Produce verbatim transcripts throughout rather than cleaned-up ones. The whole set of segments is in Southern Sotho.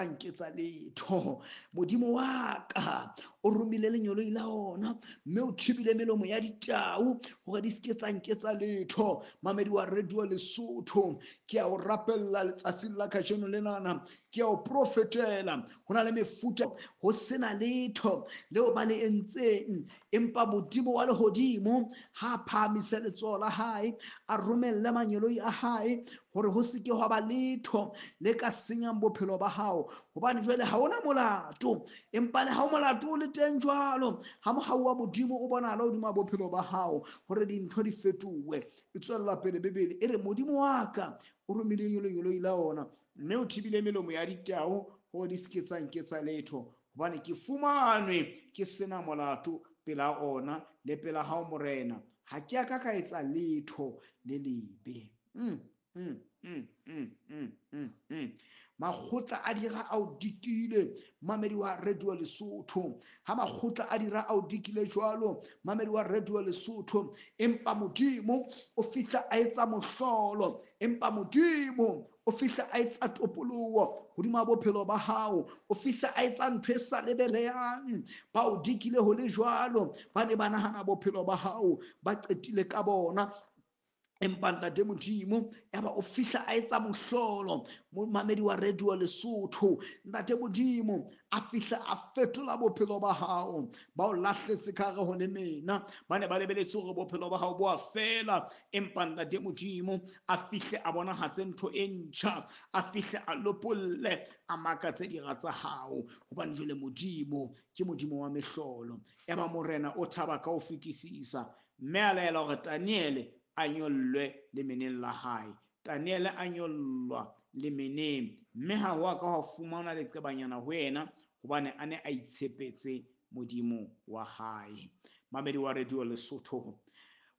Nketsa letho. Modimo wa ka o romile lenyoloi la ona mme o thibile melomo ya ditau hore di se ke tsa nketsa letho. Mamedi wa Radio Lesotho, ke a o rapella letsatsing la kajeno lenana, ke a o profetela. Ho na le mefuta ho sena letho leo ba le entseng, empa Modimo wa lehodimo ha phahamise letsoho la hae, a romelle mangeloi a hae hore ho se ke hwa ba letho le ka senyang bophelo ba hao. Hobane jwale ha ona molato, empa le ha o molato o le teng jwalo, ha mohau wa Modimo o bonahala hodima bophelo ba hao hore dintho di fetohe. E tswella pele Bibele e re Modimo wa ka o romile lenyoloi la ona mme o thibile melomo ya ditau hore di se ke tsa nketsa letho, hobane ke fumanwe ke sena molato pela ona le pela hao Morena. Ha ke a ka ka etsa letho le lebe. Mm. Mm, mm, mm, mm, mm, mm. Makgotla a dira a o dikile, mamedi wa Radio Lesotho. Ha makgotla a dira a o dikile jwalo, mamedi wa Radio Lesotho, empa Modimo o fihla a etsa mohlolo, empa Modimo o fihla a etsa topoloho hodima bophelo ba hao, o fihla a etsa ntho e sa lebelehang. Ba o dikile ho le jwalo, ba ne ba nahana bophelo ba hao ba qetile ka bona, empa Ntate Modimo ya ba o fihla a etsa mohlolo. Mamedi wa Radio Lesotho, Ntate Modimo a fihla a fetola bophelo ba hao. Ba o lahletse ka hare ho le mena, ba ne ba lebeletse hore bophelo ba hao bo a fela, empa Ntate Modimo a fihle a bonahatse ntho e ntjha, a fihle a lopolle, a makatse dira tsa hao, hobane jwale Modimo ke Modimo wa mehlolo. Ya ba Morena o thaba ka ho fetisisa, mme a laela hore Daniele a nyollwe lemeneng la hae. Daniele a nyollwa lemeneng, mme ha ho a ka hwa fumanwa leqebanyana ho yena, hobane a ne a itshepetse Modimo wa hae. Mamedi wa Radio Lesotho,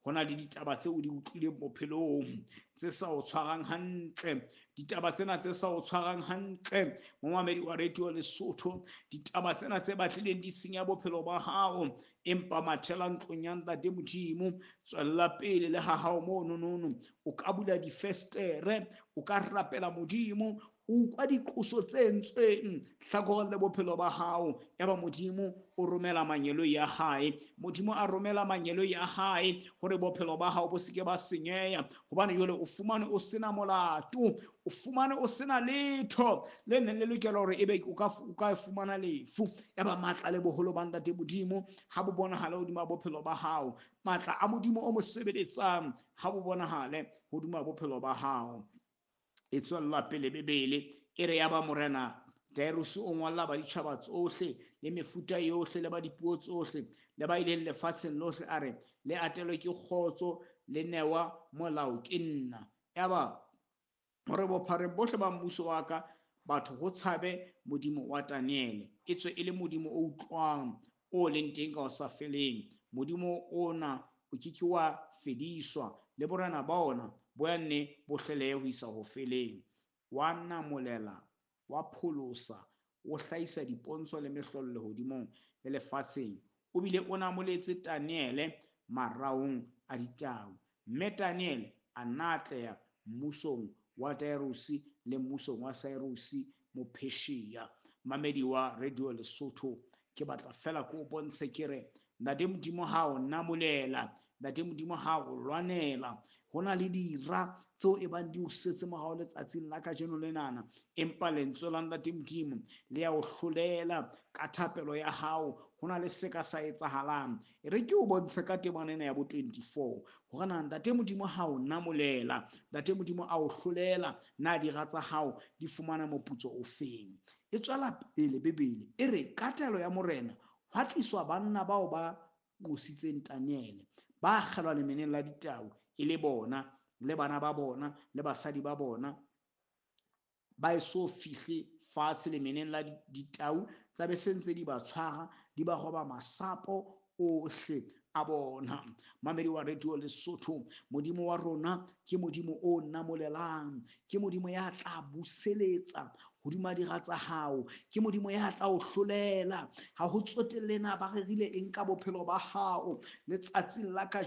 ho na le ditaba tseo o di utlwileng bophelong tse sa o tshwarang hantle, ditaba tsena tse sa o tshwarang hantle, momamedi wa Radio Lesotho, ditaba tsena tse batlileng di senya bophelo ba hao, empa mathela ntlong ya Ntate Modimo, tswella pele le ha hao mono nono, o ka bula difestere, o ka rapela Modimo, o utlwa diqoso tse entsweng hlakoreng le bophelo ba hao. Yaba Modimo o romela mangeloi a hae, Modimo a romela mangeloi a hae hore bophelo ba hao bo se ke ba senyeha, hobane jwale o fumane o sena molato, o fumane o sena letho le neng le lokela hore ebe o ka o ka fumana lefu. Yaba matla le boholo ba Ntate Modimo ha bo bonahale hodima bophelo ba hao, matla a Modimo o mo sebeletsang ha bo bonahale hodima bophelo ba hao. E tswella pele Bibele e re yaba Morena Darius o ngolla ba ditjhaba tsohle le mefuta yohle le ba dipuo tsohle le ba ileng lefatsheng lohle, a re le atelwe ke kgotso le newa molao ke nna. Yaba hore bophareng bohle ba mmuso wa ka batho ho tshabe Modimo wa Daniele, e tswe e le Modimo o utlwang, o leng teng ka ho sa feleng. Modimo ona o ke ke wa fediswa, le borena ba ona bo ya nne bo hlelehe ho isa ho feleng. Wa namolela, wa pholosa, o hlahisa dipontsho le mehlolo lehodimong le lefatsheng. O bile o namoletse Daniele maraong a ditau, mme Daniele a nna atleha mmusong wa Darius le mmusong wa Cyrus Mopheshiya. Mamedi wa Radio Lesotho, ke batla fela ko o bontshe ke re Ntate Modimo ha o namolela, Ntate Modimo ha o lwanela, ho na le dira tseo e bang di o setse morao letsatsing la kajeno lenana, empa lentswe la Ntate Modimo le ya o hlolela ka thapelo ya hao. Ho na le se ka sa etsahalang. E re ke o bontshe ka temana ena ya bo twenty-four hore na Ntate Modimo ha o namolela, Ntate Modimo a o hlolela, na dira tsa hao di fumana moputso o feng. E tswela pele Bibele e re ka taelo ya Morena hwa tliswa banna bao ba qositseng Daniele, ba akgelwa lemeneng la ditau, e le bona le bana ba bona le basadi ba bona, ba eso fihle fatshe lemeneng la ditau, tsa be se ntse di ba tshwara, di ba roba masapo ohle a bona. Mamedi wa Radio Lesotho, Modimo wa rona ke Modimo o namolelang, ke Modimo ya tla buseletsa hodima dira tsa hao, ke Modimo ya tla o hlolela. Ha ho tsotelle na ba rerile eng ka bophelo ba hao letsatsing la kajeno.